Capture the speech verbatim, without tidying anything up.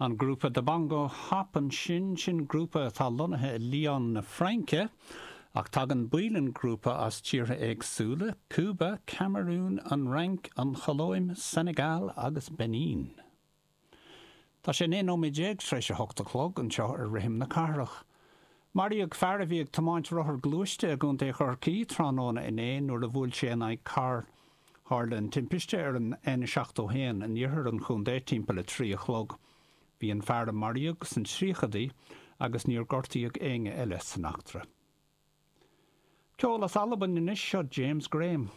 An grúpa The Bongo Hop ansin sin grúpa atá lonnaithe i Lyon na Fraince, ach tagann baill an ghrúpa as tíortha éagsúla, Cúba, Camarún, an Fhrainc, an Cholóim, Senegal agus Benin. Tá sé naoi nóiméad déag tar éis a hocht a chlog anseo ar Rithim na Cathrach. Maraíodh fear a bhí ag tiomáint rothar gluaiste i gContae Chorcaí tráthnóna inné nuair a bhuail sé in aghaidh carr Tharla an timpiste ar an N seachtó haon in iarthar an chontae timpeall a trí a chlog. Bhí an fear a maraíodh sna tríochaidí agus níor gortaíodh éinne eile san eachtra. Ceol as Albain anois seo James Graham.